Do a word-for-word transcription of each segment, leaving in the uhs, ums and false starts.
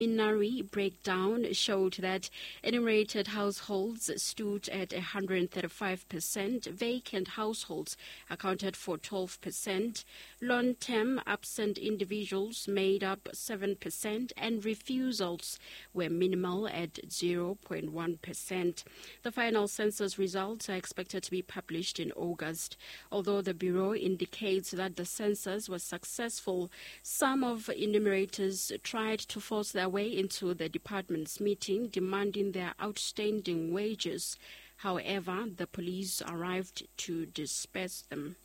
Preliminary breakdown showed that enumerated households stood at one hundred thirty-five percent, vacant households accounted for twelve percent, long-term absent individuals made up seven percent, and refusals were minimal at zero point one percent. The final census results are expected to be published in August. Although the Bureau indicates that the census was successful, some of enumerators tried to force their way into the department's meeting, demanding their outstanding wages. However, the police arrived to disperse them.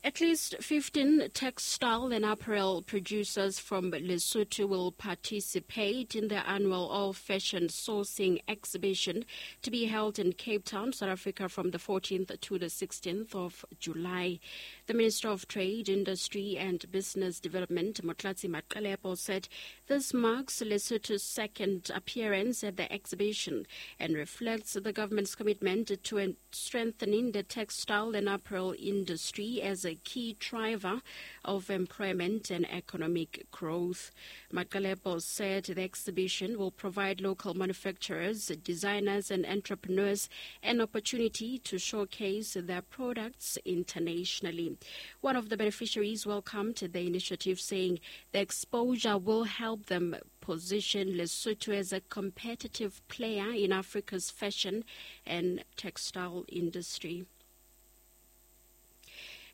At least fifteen textile and apparel producers from Lesotho will participate in the annual All Fashion Sourcing Exhibition to be held in Cape Town, South Africa from the fourteenth to the sixteenth of July. The Minister of Trade, Industry and Business Development, Motlatsi Maqelepo, said this marks Lesotho's second appearance at the exhibition and reflects the government's commitment to strengthening the textile and apparel industry as a key driver of employment and economic growth. Maqelepo said the exhibition will provide local manufacturers, designers and entrepreneurs an opportunity to showcase their products internationally. One of the beneficiaries welcomed the initiative, saying the exposure will help them position Lesotho as a competitive player in Africa's fashion and textile industry.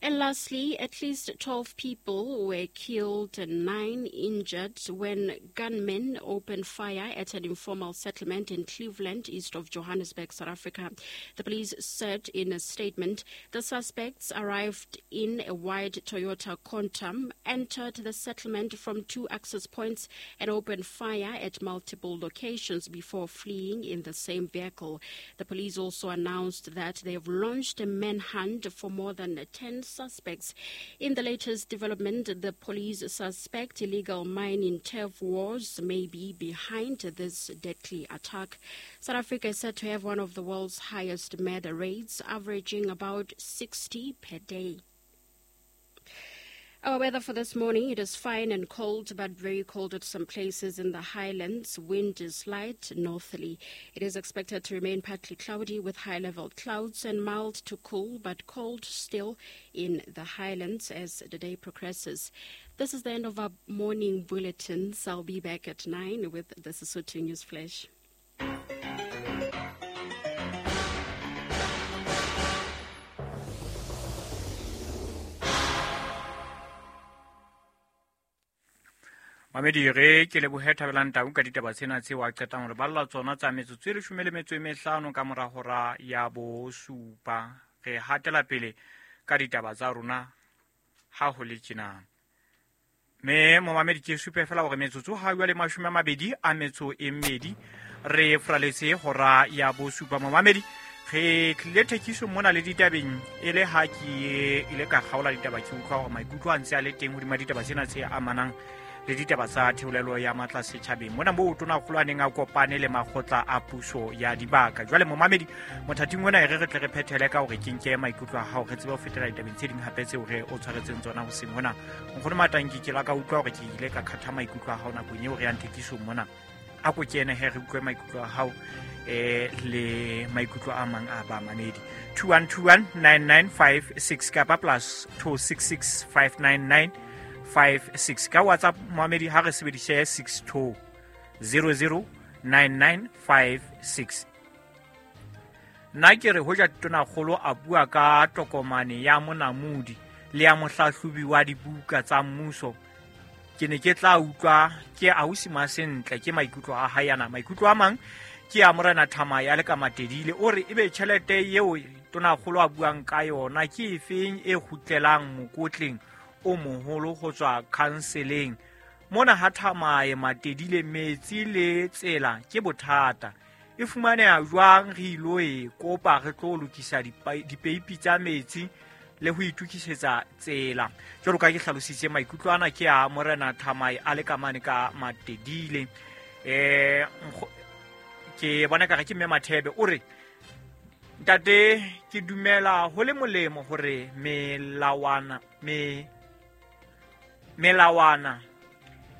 And lastly, at least twelve people were killed and nine injured when gunmen opened fire at an informal settlement in Cleveland, east of Johannesburg, South Africa. The police said in a statement the suspects arrived in a white Toyota Quantum, entered the settlement from two access points and opened fire at multiple locations before fleeing in the same vehicle. The police also announced that they have launched a manhunt for more than ten suspects. In the latest development, the police suspect illegal mining turf wars may be behind this deadly attack. South Africa is said to have one of the world's highest murder rates, averaging about sixty per day. Our weather for this morning, it is fine and cold, but very cold at some places in the highlands. Wind is light northerly. It is expected to remain partly cloudy with high-level clouds and mild to cool, but cold still in the highlands as the day progresses. This is the end of our morning bulletins. I'll be back at nine with the Sesotho News Flash. Mamedi re ke lebohe Thabelang Tau ka ditaba tsena tseo a qetang hore balla tsona tsa metsotso e leshome le metso e mehlano ka mora hora ya bosupa. Re hatela pele ka ditaba tsa rona ha ho le tjena. Me momamedi ke supe fela hore metsotso ha jwale mashome a mabedi a metso e mmedi re fraletse hora ya bosupa. Momamedi re tlile thekiso mona le ditabeng e le ha ke ile ka kgaola ditaba ke utlwa hore maikutlo a ntse a le teng hodima ditaba tsena tse amanang le ditaba tsa theolelo ya matla setjhabeng mona moo tonakgolo a neng a kopane le makgotla a puso ya dibaka. Jwale momamedi mothating ona e re re tle re phethele ka hore ke nke maikutlo a hao re tsebe ho fetela ditabeng tse ding hape tseo re o tshwaretseng tsona hoseng hona. Nkgono Matanki ke la ka utlwa hore ke ile ka khatha maikutlo a hao nakong eo re yang thekisong mona. A ko kene he re utlwe maikutlo a hao eh le maikutlo a mang a bamamedi. two one two one nine nine five six kapa plus two six six five nine nine five six ka WhatsApp momamedi ha re sebedise six two zero zero nine nine five six. Nna ke re hoja tonakgolo a bua ka tokomane ya monamodi le ya mohlahlobi wa dibuka tsa mmuso, ke ne ke tla utlwa ke ausi Masentle ke maikutlo a hae ana. Maikutlo a mang ke a Morena Thamaya le ka Matedile o re ebe tjhelete eo tonakgolo a buang ka yona ke efeng e kgutlelang mokotleng o moholo ho tswa counseling mona ha Thamaye Matedile metsi le tsela ke bothata e fumaneha jwang re ilo e kopa re tlo lokisa dipeipi tsa metsi le ho itukisetsa tsela. Jwalo ka ke hlalositse maikutlo ana ke a Morena Thamaye a le ka mane ka Matedile. Eh ke bona ka re ke mme Mathebe o re ntate ke dumela ho le molemo hore melawana me melawana